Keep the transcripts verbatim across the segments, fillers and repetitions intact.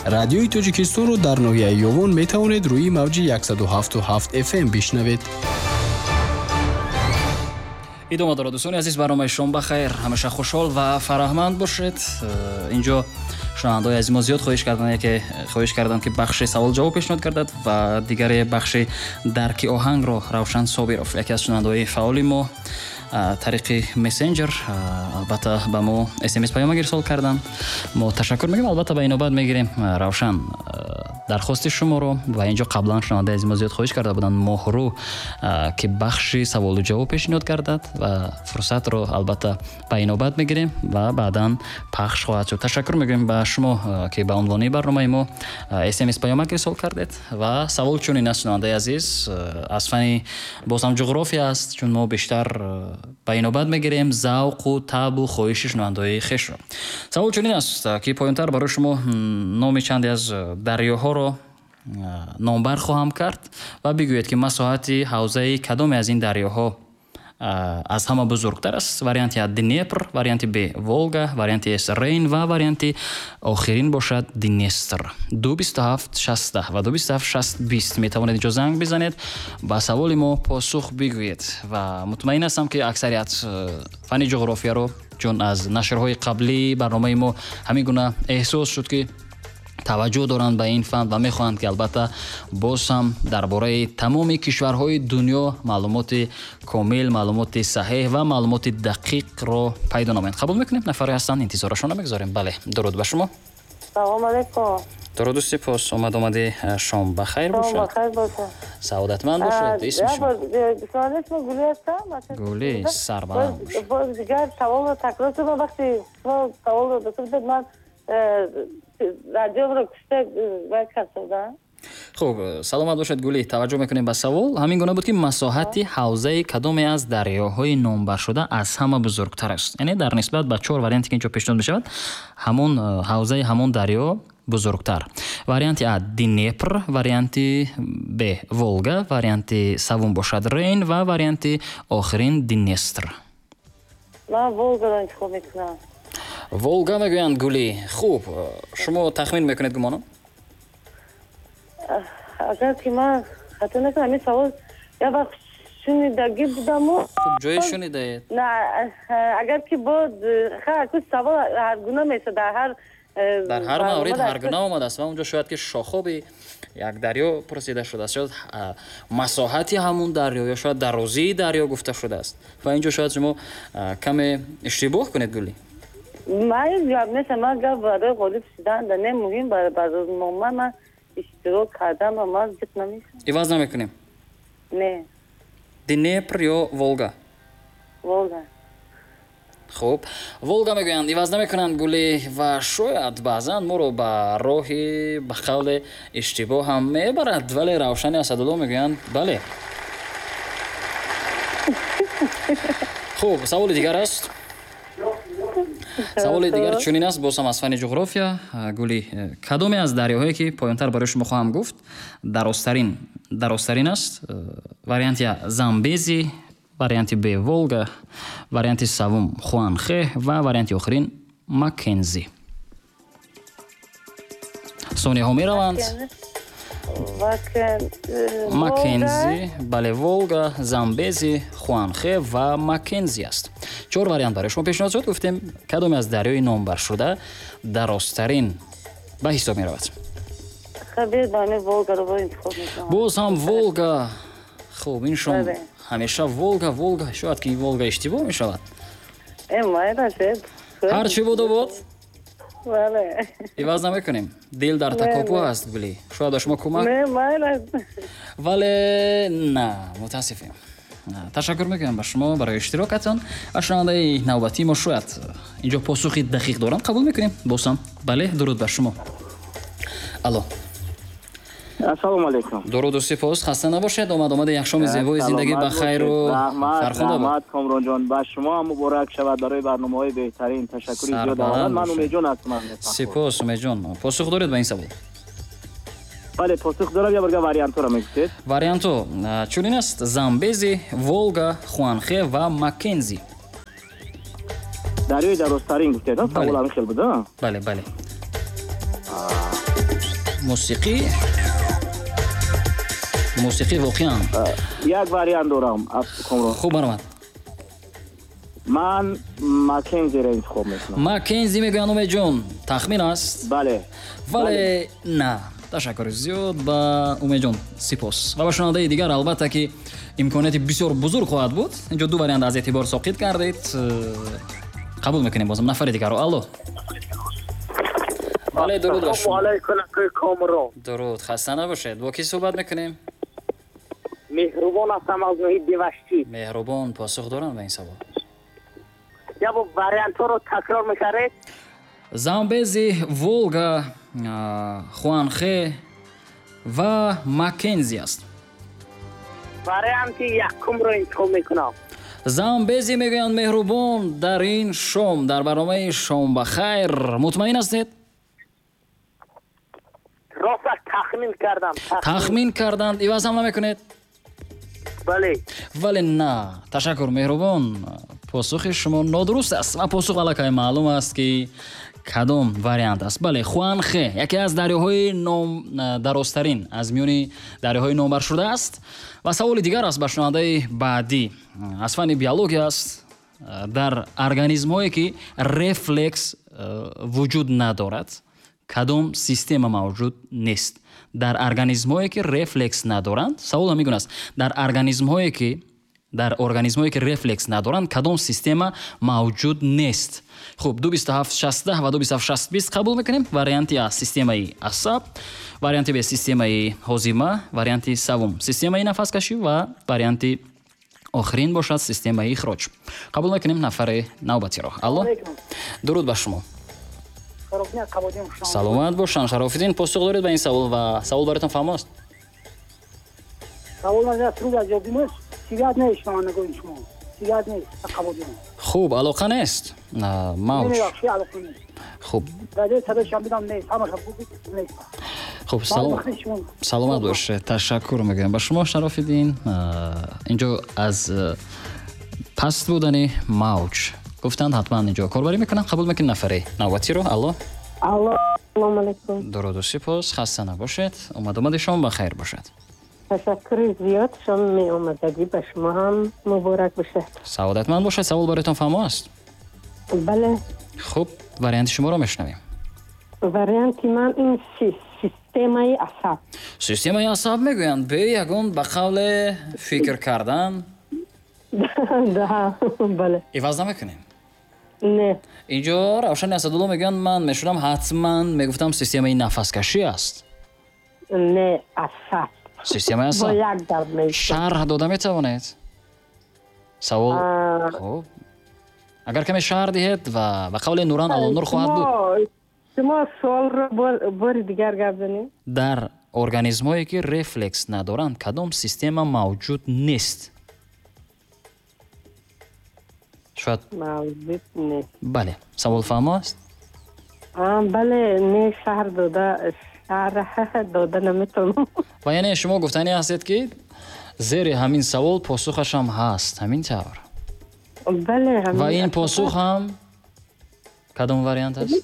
Радиои Тоҷикистонро дар ноҳияи Ёвон метавонед рӯи мавҷи яксаду ҳафту ҳафт эф эм бишнавед. Идома дорад, дӯстони азиз, барномаи шом ба хайр. Ҳамеша хушҳол ва фараҳманд бошед. Инҷо шунавандаҳои азиз мо зиёд хоҳиш карданд, яке хоҳиш карданд, ки бахши савол ҷавоб пешниҳод кардад ва дигаре бахши дарки оҳангро Равшан Собиров, яке аз шунавандаҳои фаъоли мо, тариқи мессенҷер албатта ба мо смс паёмак ирсол карданд. Мо ташаккур мегӯем, албатта ба инобат мегирем Равшан дархости шуморо. Ва инҷо қаблан шунавандаи азиз мо зиёд хоҳиш карда буданд Моҳрӯ, ки бахши саволу ҷавоб пешниҳод кардад ва фурсатро албатта ба инобат мегирем ва баъдан пахш хоҳад шуд. Ташаккур мегӯем ба шумо, ки ба унвони барномаи мо смс паёмак ирсол кардед. Ва савол чунин аст, шунавандаи азиз, аз фани боз ҳам ҷуғрофия аст, чун мо бештар ба инобат мегирем завқу табу хоҳиши шунавандаҳои хешро. Савол чунин аст, ки поёнтар барои шумо номи чанде аз дарёҳоро номбар хоҳам кард ва бигӯед, ки масоҳати ҳавзаи кадоме аз ин дарёҳо аз ҳама бузургтар аст. Варианти А Днепр, варианти Б Волга, варианти С Рейн ва варианти охирин бошад Днестр. ду бисту ҳафт шасту ва ду бисту ҳафт шаст бист метавонед инҷо занг бизанед, ба саволи мо посух бигӯед. Ва мутмаин ҳастам, ки аксарият фани ҷуғрофияро, чун аз нашрҳои қаблии барномаи мо ҳамин гуна эҳсос шуд, ки таваҷҷӯҳ доранд ба ин фан ва мехоҳанд, ки албатта боз ҳам дар бораи тамоми кишварҳои дунё маълумоти комил, маълумоти саҳеҳ ва маълумоти дақиқро пайдо намоянд. Қабул мекунем, нафаре ҳастанд, интизорашонро мегузорем. Бале, дуруд ба шумо. Салом алейкум. Дуруду сипос, омад омади шом ба хайр бошад. Шом ба хайр бошад. Саодатманд бошед. Исми шумо? Исми Гули ҳастам. Гули, сарбаланд бошед. Боз дигар саволро такрор кунам. Вақте шумо саволро дода ман радиоро кушта вай кардам. Хуб, саломат бошед Гули. Таваҷҷӯҳ мекунем ба савол. Ҳамин гуна буд, ки масоҳати ҳавзаи кадоме аз дарёҳои номбаршуда аз ҳама бузургтар аст. Яъне дар нисбат ба чор варианте, ки инҷо пешниҳод мешавад, ҳамон ҳавзаи ҳамон дарё бузургтар. Варианти А Днепр, варианти Б Волга, варианти севум бошад Рейн ва варианти охирин Днестр. Ман Волгаро интихоб мекунам. Волга мегӯянд Гули. Хуб, шумо тахмин мекунед гумонам? Агар ки ман хато накунам, ин савол як вақт шунидагӣ будаму. Хуб, ҷое шунидаед? На, агар ки бо савол ҳаргуна мешавад, дар ҳар дар ҳар маврид ҳаргуна омадааст ва онҷо шояд ки шохоби як дарё пурсида шудааст, шояд масоҳати ҳамун дарё ё шояд дарозии дарё гуфта шудааст ва инҷо шояд шумо каме иштибоҳ кунед Гули. Ман гап нестам, ман гап барои ғолиб шудан да не, муҳим барнома ман иштирок кардам ва ман зиқ намешавам. Иваз намекунем? Не. Днепр ё Волга? Волга. Хуб, Волга мегӯянд, иваз намекунанд Гули ва шояд баъзан моро ба роҳи ба қавле иштибоҳ ҳам мебарад, вале Равшани Асадулло мегӯянд бале. Хуб, саволи дигар аст. Саволи дигар чунин аст, боз ҳам аз фани ҷуғрофия. Гули, кадоме аз дарёҳое ки поёнтар барои шумо хоҳам гуфт дарозтарин дарозтарин аст? Варианти А Замбези, варианти Б Волга, варианти севум Хуанхе ва варианти охирин Маккензи. Сонияҳо мераванд. Маккензи, бале, Волга, Замбези, Хуанхе ва Маккензи аст. Чор вариант барои шумо пешниҳод шуд. Гуфтем, кадоме аз дарёи номбаршуда дарозтарин ба ҳисоб меравад? Боз ҳам Волга. Хуб, ин шом ҳамеша Волга, Волга, шояд ки Волга иштибоҳ мешавад. Ҳар чӣ буду буд. Иваз намекунем. Дил дар такопӯ аст, Гули. Шояд ба шумо кӯмак? Вале на, мутаассифем. Ташаккур мекунам ба шумо барои иштирокатон. Ва шунавандаи навбатии мо шояд инҷо посухи дақиқ доранд. Қабул мекунем босам. Бале, дуруд ба шумо. Алло. Ассалому алайкум. Дуруду сипос, хаста набошед. Омад омада як шоми зебои зиндагӣ ба хайру фархунда бод. Раҳмат Комронҷон, ба шумо ҳам муборак шавад барои барномаҳои беҳтарин. Ташаккури зиёд. Ман Умедҷон ҳастам. Сипос Умедҷон. Посух доред ба ин савол? Бале, посух дорам. Я барга вариантҳоро мегуфтед. Вариантҳо чунин аст: Замбези, Волга, Хуанхе ва Маккензи. Дарёи дарозтарин гуфтед, савол ҳамин хел буд, а? Бале, бале. Мусиқӣ мусиқӣ воқеан як вариант дорам. Хуб, баромад. Ман Маккензиро интихоб мекунам. Маккензи мегӯянд Умедҷон. Тахмин аст? Бале. Вале на. Ташаккури зиёд ба Умедҷон, сипос. Ва ба шунавандаи дигар албатта ки имконияти бисёр бузург хоҳад буд. Инҷо ду вариант аз эътибор соқит кардед. Қабул мекунем бозам нафари дигарро. Алло. Бале, дуруд ба шумо. Дуруд, хаста набошед. Бо кӣ суҳбат мекунем? Меҳрубон ҳастам аз ноҳияи Деваштӣ. Меҳрубон, посух дорам ба ин савол. Я бо вариантҳоро такрор мекардед? Замбези, Волга, Хуанхе ва Маккензи аст. Варианти якумро интихоб мекунам. Замбези мегӯянд Меҳрубон дар ин шом, дар барномаи Шом ба хайр. Мутмаин ҳастед? Рост тахмин кардам. Тахмин карданд. Иваз ҳам намекунед? Бале. Вале на. Ташаккур Меҳрубон. Посухи шумо нодуруст аст ва посух аллакай маълум аст ки кадом вариант аст. Бале, Хуанхе яке аз дарёҳои дарозтарин аз миёни дарёҳои номбаршуда аст. Ва саволи дигар аст ба шунавандаи баъдӣ. Аз фанни биология аст. Дар организмҳое ки рефлекс вуҷуд надорад, кадом система мавҷуд нест? Дар организмҳое ки рефлекс надоранд, савол ҳамин гуна аст. Дар организмҳое ки дар организмҳое ки рефлекс надоранд, кадом система мавҷуд нест? Хуб, ду бисту ҳафт шасту ва ду бисту ҳафт шасту бист қабул мекунем. Варианти А системаи асаб, варианти Б системаи ҳозима, варианти севум системаи нафаскашӣ ва варианти охирин бошад системаи ихроҷ. Қабул мекунем нафари навбатиро. Алло. Дуруд ба шумо. Саломат бошанд. Шарофиддин, посух доред ба ин савол ва савол бароятон фаҳмо аст? Савол аз труд аз ёдимост. Сигарет нест, ман нагӯем шумо. Сигарет нест, қабул. Хуб, алоқа нест. Мавҷ. Хуб. Радио садои шамбидам нест, ҳамаша нест. Хуб, салом. Саломат бошед. Ташаккур мегӯям ба шумо Шарофиддин. Инҷо аз паст будани мавҷ гуфтанд, ҳатман инҷо корбарӣ мекунанд. Қабул мекунем нафари навбатиро. Алло. Алло, салом алейкум. Дуруду сипос, хаста набошед. Омад омади шом ба хайр бошад. Ташаккури зиёд, шом меомадагӣ ба шумо ҳам муборак бошад. Саодатманд бошад. Савол бароятон фаҳмо аст? Бале. Хуб, варианти шуморо мешунавем. Варианти ман ин системаи асаб. Системаи асаб мегӯянд, бе ягон ба қавле фикр кардан. Да, бале. Иваз намекунем? Не. Инҷо Равшани Асадулло мегӯянд, ман мешудам ҳатман мегуфтам системаи нафаскашӣ аст. Не, асаб. Системаи асаб. Шарҳ дода метавонед? Савол. Хуб. Агар каме шарҳ диҳед ва ба қавли Нуран Алонур хоҳад буд. Шумо суолро бори дигар гап занед. Дар организмҳое ки рефлекс надоранд, кадом система мавҷуд нест? Шояд мавҷуд нест. Бале, савол фаҳмо аст? Бале, не, шарҳ дода шарҳ дода наметавонам. Ва яъне шумо гуфтанӣ ҳастед ки зери ҳамин савол посухаш ҳам ҳаст, ҳамин тавр? Бале, ҳамин. Ва ин посух ҳам кадом вариант аст?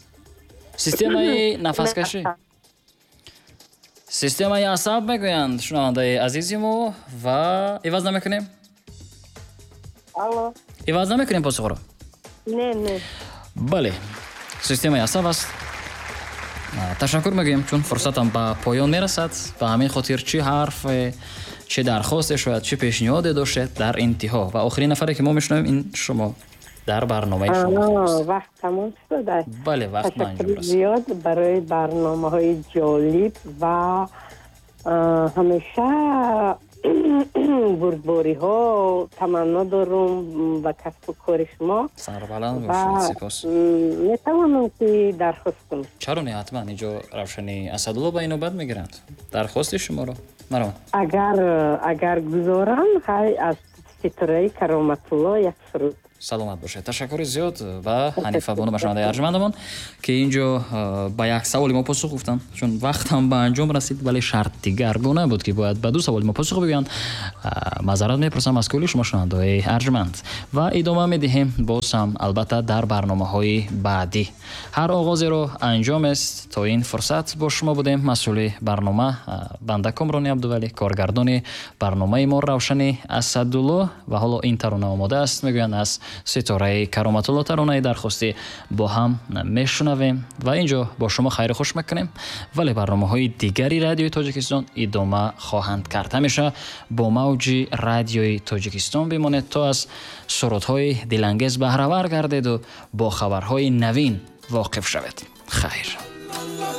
Системаи нафаскашӣ. Системаи асаб мегӯянд шунавандаи азизи мо ва иваз намекунем? Алло. Иваз намекунем посухро? Не, не. Бале, системаи асаб аст. Ташаккур мегӯем, чун фурсатам ба поён мерасад. Ба ҳамин хотир чӣ ҳарф, чӣ дархосте шояд, чӣ пешниҳоде доштед дар интиҳо. Ва охирин нафаре ки мо мешунавем ин шумо дар барномаи шумо. Вақт тамом шуд. Бале, вақт ба анҷом расид. Зиёд барои барномаҳои ҷолиб ва ҳамеша бурдбориҳо таманно дорум ба касбу кори шумо. Сарбаланд бошед, сипос. Метавонам ки дархост кунам? Чаро не, ҳатман. Инҷо Равшани Асадулло ба ин навбат мегиранд дархости шуморо. Марҳамат. Агар агар гузорам, ҳай аз ситораи Кароматулло як суруд. Саломат бошед. Ташаккури зиёд ва Ҳанифа бону, ба шунавандаи арҷмандамон, ки инҷо ба як саволи мо посух гуфтанд, чун вақт ҳам ба анҷом расид, вале шарт дигаргуна буд, ки бояд ба ду саволи мо посух бигӯянд. Маъзарат мепурсам аз кулли шумо шунавандаҳои арҷманд ва идома медиҳем боз ҳам албатта дар барномаҳои баъдӣ. Ҳар оғозеро анҷом аст. То ин фурсат бо шумо будем. Масъули барнома банда Комрони Абдувалӣ, коргардони барномаи мо Равшани Асадулло ва ҳоло ин тарона омода аст, мегӯянд аз ситораи Кароматулло, таронаи дархостӣ бо ҳам мешунавем ва инҷо бо шумо хайру хуш мекунем, вале барномаҳои дигари Радиои Тоҷикистон идома хоҳанд кард. Ҳамеша бо мавҷи Радиои Тоҷикистон бимонед, то аз сурудҳои дилангез баҳравар гардеду бо хабарҳои навин воқиф шавед. Хайр.